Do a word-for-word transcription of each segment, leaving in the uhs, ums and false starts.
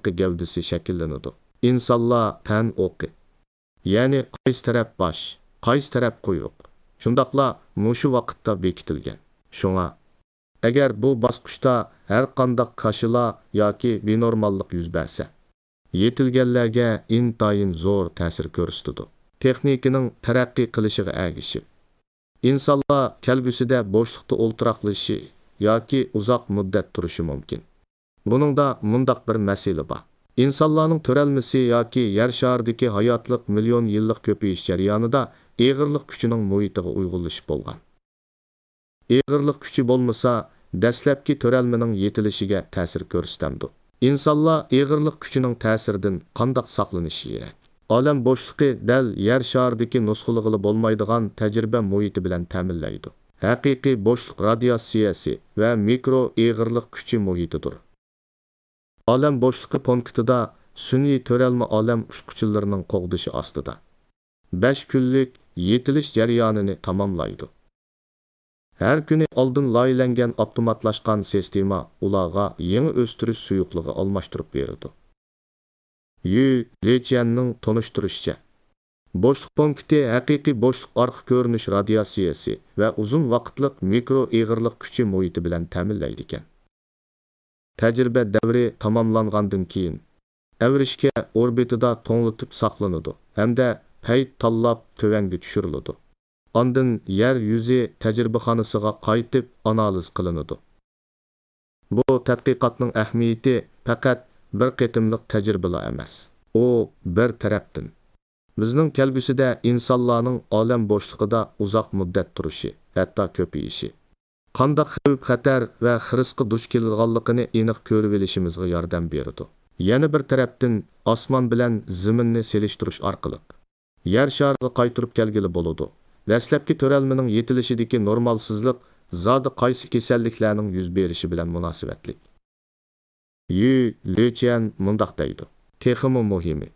ھېلىقى گەۋدىسى شەكىللىنىدۇ. ئىنسانلار تەن ئوقى، يەنى قايسى تەرەپ باش، قايسى تەرەپ قۇيرۇق، شۇنداقلا مۇشۇ ۋاقىتتا بېكىتىلگەن. شۇڭا، ئەگەر بۇ باسقۇچتا ھەرقانداق كاشىلا ياكى بىنورماللىق يۈز بەرسە، يېتىلگەنلەرگە ئىنتايىن زور تەسىر كۆرسىتىدۇ. تېخنىكىنىڭ تەرەققىي قىلىشىغا ئەگىشىپ، ئىنسانلار كەلگۈسىدە بوشلۇقتا ئولتۇراقلىشىشى ياكى ئۇزاق مۇددەت تۇرۇشى مۇمكىن. بۇنىڭدا مۇنداق بىر مەسىلە بار. ئىنسانلارنىڭ تۆرەلمىسى ياكى يەر شارىدىكى ھاياتلىق مىليون يىللىق كۆپىيىش جەريانىدا ئېغىرلىق كۈچىنىڭ مۇھىتىغا ئۇيغۇنلىشىپ بولغان. ئېغىرلىق كۈچى بولمىسا، دەسلەپكى تۆرەلمىنىڭ يېتىلىشىگە تەسىر كۆرسىتەمدۇ؟ ئىنسانلار ئېغىرلىق كۈچىنىڭ تەسىرىدىن قانداق ساقلىنىشى كېرەك؟ ئالەم بوشلۇقى دەل يەر شارىدىكى نۇسخىلىغىلى بولمايدىغان تەجرىبە مۇھىتى بىلەن تەمىنلەيدۇ. ھەقىقىي بوشلۇق رادىياتسىيەسى ۋە مىكرو ئېغىرلىق كۈچى مۇھىتىدۇر. ئالەم بوشلۇقى پونكىتىدا سۈنئىي تۆرەلمە ئالەم ئۇچقۇچىلىرىنىڭ قوغدىشى ئاستىدا بەش كۈنلۈك يېتىلىش جەريانىنى تاماملايدۇ. ھەر كۈنى ئالدىن لايىھەلەنگەن ئاپتوماتلاشقان سىستېما ئۇلارغا يېڭى ئۆستۈرۈش سۇيۇقلۇقى ئالماشتۇرۇپ بېرىدۇ. يۈ لېچيەننىڭ تونۇشتۇرۇشىچە، بوشلۇق پونكىتى ھەقىقىي بوشلۇق ئارقا كۆرۈنۈش رادىياتسىيەسى ۋە ئۇزۇن ۋاقىتلىق مىكرو ئېغىرلىق كۈچى مۇھىتى بىلەن تەمىنلەيدىكەن. تەجرىبە دەۋرى تاماملانغاندىن كېيىن، ئەۋرىشكە ئوربىتىدا توڭلىتىپ ساقلىنىدۇ ھەمدە پەيت تاللاپ تۆۋەنگە چۈشۈرۈلىدۇ. ئاندىن يەر يۈزى تەجرىبىخانىسىغا قايتىپ ئانالىز قىلىنىدۇ. بۇ تەتقىقاتنىڭ ئەھمىيىتى پەقەت بىر قېتىملىق تەجرىبىلا ئەمەس. ئۇ بىر تەرەپتىن، بىزنىڭ كەلگۈسىدە ئىنسانلارنىڭ ئالەم بوشلۇقىدا ئۇزاق مۇددەت تۇرۇشى، ھەتتا كۆپىيىشى، قانداق خەۋپ-خەتەر ۋە خىرىسقا دۇچ كېلىدىغانلىقىنى ئېنىق كۆرۈۋېلىشىمىزغا ياردەم بېرىدۇ. يەنە بىر تەرەپتىن، ئاسمان بىلەن زېمىننى سېلىشتۇرۇش ئارقىلىق، يەر شارىغا قايتۇرۇپ كەلگىلى بولىدۇ. دەسلەپكى تۆرەلمىنىڭ يېتىلىشىدىكى نورمالسىزلىق زادى قايسى كېسەللىكلەرنىڭ يۈز بېرىشى بىلەن مۇناسىۋەتلىك. يۈ لېچيەن مۇنداق دەيدۇ، تېخىمۇ مۇھىمى،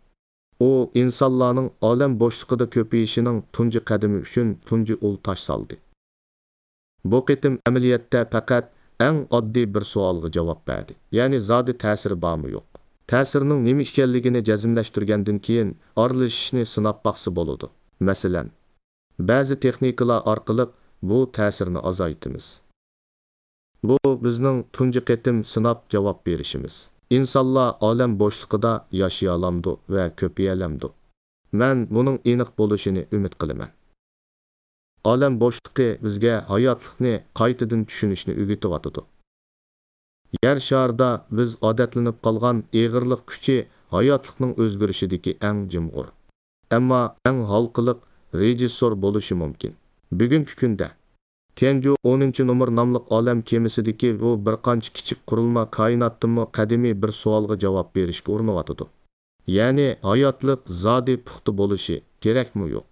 ئۇ ئىنسانلارنىڭ ئالەم بوشلۇقىدا كۆپىيىشىنىڭ تۇنجى قەدىمى ئۈچۈن تۇنجى ئۇل تاش سالدى. بۇ قېتىم ئەمەلىيەتتە پەقەت ئەڭ ئاددىي بىر سوئالغا جاۋاب بەردى، يەنى زادى تەسىرى بارمۇ يوق؟ تەسىرىنىڭ نېمە ئىكەنلىكىنى جەزملەشتۈرگەندىن كېيىن، ئارىلىشىشنى سىناپ باقسا بولىدۇ. مەسىلەن، بەزى تېخنىكىلار ئارقىلىق بۇ تەسىرنى ئازايتىمىز. بۇ بىزنىڭ تۇنجى قېتىم سىناپ جاۋاب بېرىشىمىز. ئىنسانلار ئالەم بوشلۇقىدا ياشىيالامدۇ ۋە كۆپىيەلەمدۇ؟ مەن بۇنىڭ ئېنىق بولۇشىنى ئۈمىد قىلىمەن. ئالەم بوشلۇقى بىزگە ھاياتلىقنى قايتىدىن چۈشىنىشنى ئۆگىتىۋاتىدۇ. يەر شارىدا بىز ئادەتلىنىپ قالغان ئېغىرلىق كۈچى ھاياتلىقنىڭ ئۆزگىرىشىدىكى ئەڭ جىمغۇر، ئەمما ئەڭ ھالقىلىق رېژىسسور بولۇشى مۇمكىن. بۈگۈنكى كۈندە، تيەنجۇ ئونىنچى نومۇر ناملىق ئالەم كېمىسىدىكى بۇ بىر قانچە كىچىك قۇرۇلما كائىناتتىنمۇ قەدىمىي بىر سوئالغا جاۋاب بېرىشكە ئۇرۇنۇۋاتىدۇ. يەنى ھاياتلىق زادى پۇختا بولۇشى كېرەكمۇ يوق؟